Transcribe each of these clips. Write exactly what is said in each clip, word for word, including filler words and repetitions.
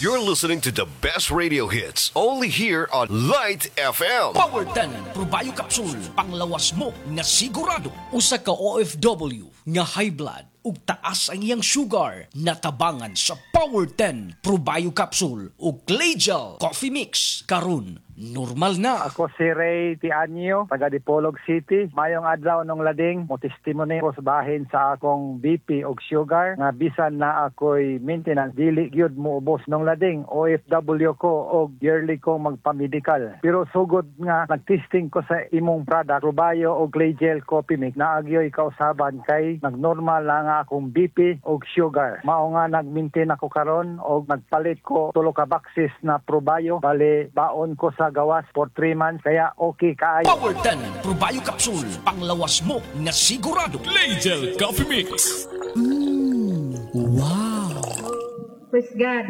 You're listening to the best radio hits only here on Light F M. Power ten Probio Capsule, panglawas mo nga sigurado. Usa ka O F W nga high blood ug taas ang iyang sugar, natabangan sa Power ten Probio Capsule ug Claygel Coffee Mix. Karon normal na. Ako si Ray Tianyo, taga Dipolog City. Mayong adlaw, Nong Lading, mo testimony ko sa bahin sa akong B P og sugar nga bisan na ako'y maintenance, dili gyud moubos, Nong Lading. O F W ko og yearly ko magpa-medical. Pero sugod nga nagtesting ko sa imong product, Probio og Claygel Coffee Mix, naagyoy kausaban kay nagnormal na nga akong B P og sugar. Mao nga nag-maintain ako karon og nagpalit ko tulo ka boxes na Probio. Bali baon ko sa gawas for three months kaya okay kaayo. Power ten Probio Capsule, panglawas mo nga sigurado. Claygel Coffee Mix. Wow! Praise God.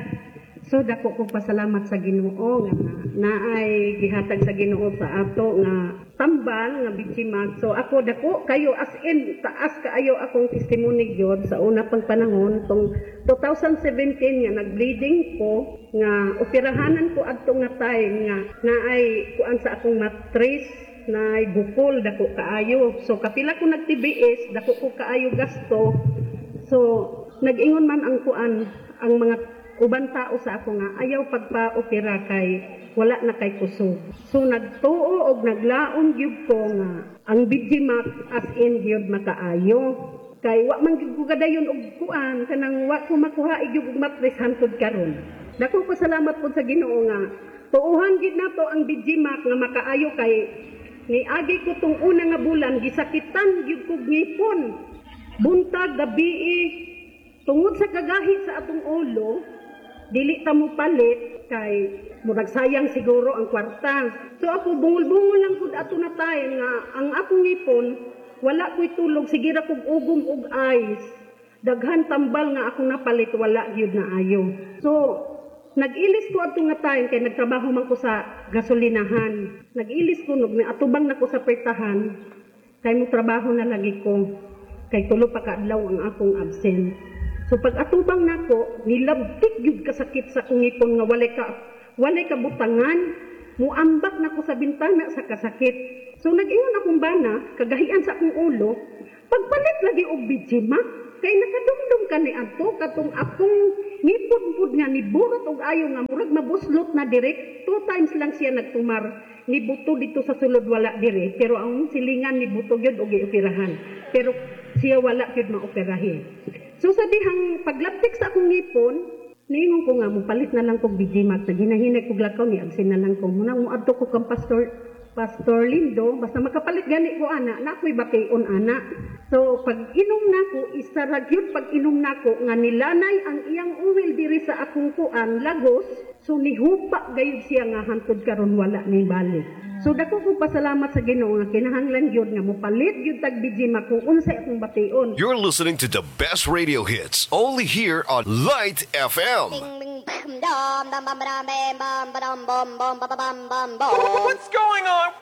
So dako ko pasalamat sa Ginoo nga naay gihatag sa Ginoo sa ato nga tambal nga B G Max. So ako dako kayo, as in taas kaayo akong testimony gyud sa una pang panahon tong twenty seventeen nga nagbleeding ko nga operahanan ko adto nga time nga naay kuan sa akong matris na bukol dako kaayo. So kapila ko nag T B S, dako ko kaayo gasto. So nag-ingon man ang kuan, ang mga uban tao sa ako nga ayaw pagpa-opera kay wala na kay kusog. So nagtuo og naglaom gyud ko nga ang B G Max as in gyud makaayo. Kay wa man gyud ko kadayon og kuan, kanang wa ko makuha gyud og matres hantod karon. Dako ko salamat pod sa Ginoo nga tuohan gyud nato ang B G Max nga makaayo kay niagi ko tong una nga bulan, gisakitan gyud kog ngipon. Buntag, gabi, tungod sa kagahi sa atong ulo, dili ta mo palit kay murag sayang siguro ang kwarta. So ako bungol-bungol lang pud ato na time nga ang akong ngipon wala ko'y tulog, sige ra kog ugom og ice. Daghan tambal nga akong napalit, wala gyud na ayo. So nag-ilis ko adto nga time kay nagtrabaho man ko sa gasolinahan. Nag-ilis ko nug atubang nako sa pertahan kay mo trabaho na lagi ko kay tulo pa ka adlaw ang akong absent. So pag atubang nako, nilabtik gyud kasakit sa akong ngipon nga walay ka walay ka butangan, muambak nako sa bintana sa kasakit. So nag-ingon akong bana, kagahian sa akong ulo, pagpalit lagi og B G Max, kay nakadumdum ka ni adto katong akong ngipon pud nga niburot og ayo nga murag mabuslot na direct. Two times lang siya nagtumar, nibuto dito sa sulod, wala dire, pero ang silingan ni buto gyud og gioperahan, pero siya wala gyud maoperahi. So sa dihang paglabtik sa akong ngipon, niingon ko nga mopalit na lang kog B G Max. Naghinay-hinay kog lakaw, ni absent na lang ko muna, moadto ko kang Pastor Pastor Lindo, basta makapalit gani ko ana, na ako'y bation ana. So pag inom nako, isa ra gyud pag inom nako nga nilanay ang iyang oil diri sa akong kuan lagos, so nihupa gayud siya nga hantod karon wala ni balik. So dako ko pasalamat sa Ginoo nga kinahanglan gyud nga mopalit gyud tag B G Max kung unsay akong bation. You're listening to the best radio hits only here on Light F M. Dum dum bum ba dum bam bum ba dum bum bum ba ba bum bum bum. What's going on?